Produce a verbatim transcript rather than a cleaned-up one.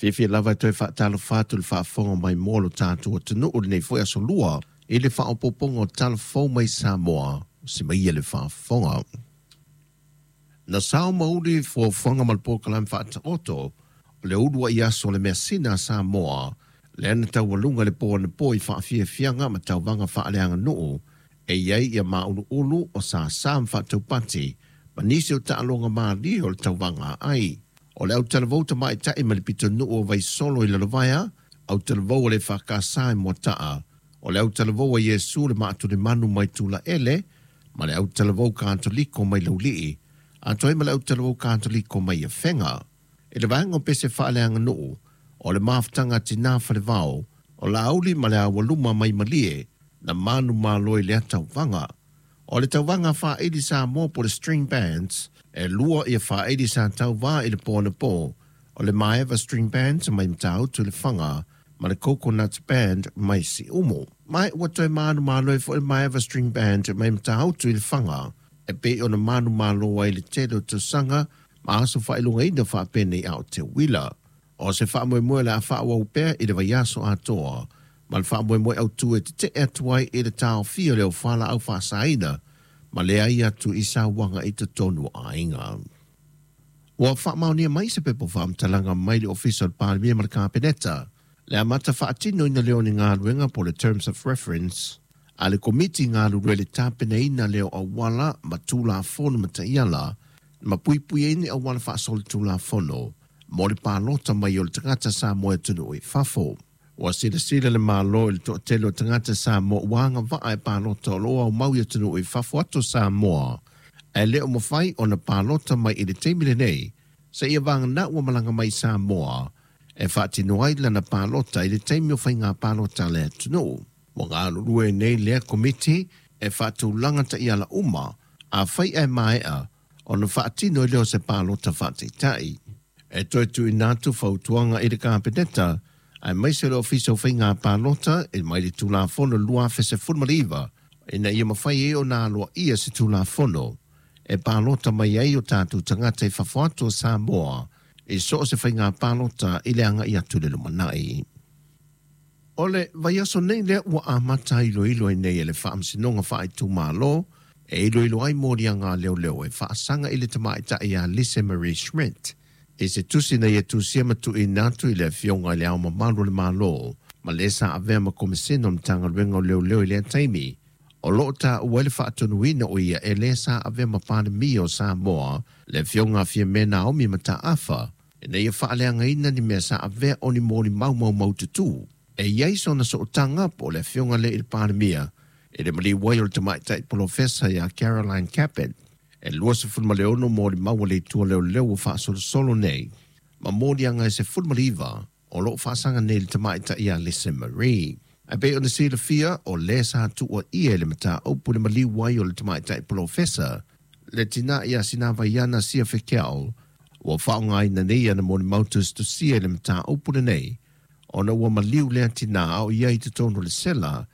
Fiafia lava e toe faatalofa atu i le faafofoga mai mo lo tatou atunuu lenei foi aso lua i le faaopoopoga o Tala Fou mai Samoa, se mai le faafofoga. Na sao mauli fuafuaga ma le polokalame faataoto o le uluai aso o le measina a Samoa, lea na taualuga le po anapo i faafiafiaga ma tauvaga faaleaganuu e i ai ia māuluulu o sāsā ma faataupati ma nisi o taaloga malie o le tauvaga ai. O le autalavou tamaitai ma le pitonuu o Vaisolo i Lalovaea, autalavou o le Fakasa i Moataa, o le autalavou a Iesu le Maatulemanu mai Tulaele, ma le autalavou Katoliko mai Laulii, atoa ai ma le autalavou Katoliko mai Afega. I le vaega o pese faaleaganuu, o le mafutaga tinā falevao, o Laauli ma le Aualuma mai Malie, na manumalo i lea tauvaga. O le tauvaga faaili Samoa po le String Bands, e lua ia faaili sa tauvā i le po anapo, o le Maeva String Band mai Matautu i Lefaga, ma le Coconuts Band mai Siumu. Ma ua toe manumalo ai foi le Maeva String Band mai Matautu i Lefaga, e pei ona manumalo ai le tele o tausaga ma aso faailogaina faapenei a o te uila. O se faamoemoe le a faaauau pea i le vaiaso atoa, ma le faamoemoe autu e tetee atu ai i le taofia o le au faasaina, ma leai atu i sauaga i totonu o aiga. Ua faamaonia mai se pepa faamatalaga mai le Ofisa o le Palemia ma le Kapeneta, le amata faatinoina lea o ni galuega po le Terms of Reference a le Komiti galulue i le tapenaina lea o auala ma Tulafono ma taiala ma puipuiaina ni auala faasolitulafono mo le palota mai o le tagata Samoa e atunuu i fafo. Ua silasila le Malo i le toatele o tagata Samoa ua agavaa e palota o lo o aumau i atunuu i fafo atu o Samoa, ae le o mafai ona palota mai i le taimi lenei, seia vagana ua malaga mai i Samoa e faatino ai lana palota i le taimi o faiga palota a le atunuu. Ua galulue nei lea komiti e faatulaga taiala uma, afai ae maea ona faatino ai lea o se palota faataitai. E toe tuuina atu fautuaga i le Kapeneta aemaise le Ofisa o Faiga Palota e mai le Tulafono lua afe sefulu ma le iva, ina ia mafai ai ona aloaia se Tulafono e palota mai ai o tatou tagata i fafo atu o Samoa i so o se faiga palota i le agai atu i le lumanai. O le vaiaso nei lea ua amata iloilo ai nei e le Faamasinoga Faaitumalo e iloilo ai moliaga a leoleo e faasaga i le tamaitai ia Lise Marie Schmidt i se tusi na ia tusia ma tuuina atu i le Afioga i Le Ao Mamalu o le Malo ma le sa avea ma Komesina o le Matagaluega o Leoleo i lea taimi, o lo o taua ai le faatonuina o ia e le sa avea ma Palemia o Samoa, le Afioga a Fiame Naomi Mataafa, ina ia faaleagaina ni mea sa avea o ni molimau maumaututu. E i ai sona sootaga po o le Afioga lea i le Palemia i le maliu ai o le tamaitai polofesa ia Caroline Capet. E luasefulu ma le ono molimau a le itu a leoleo ua faasolosolo nei, ma moliaga e sefulu ma le iva o lo o faasaga nei i le tamaitai ia Lise Marie. Ae pei ona silafia, o lē sa tuuaia i le mataupu le maliu ai o le tamaitai polofesa, le tinā ia Sinavaiana Sia Fekeao, ua faaaogaina nei ana molimau tusitusia i le mataupu lenei, ona ua maliu lea tinā a o i ai i totonu o le sela.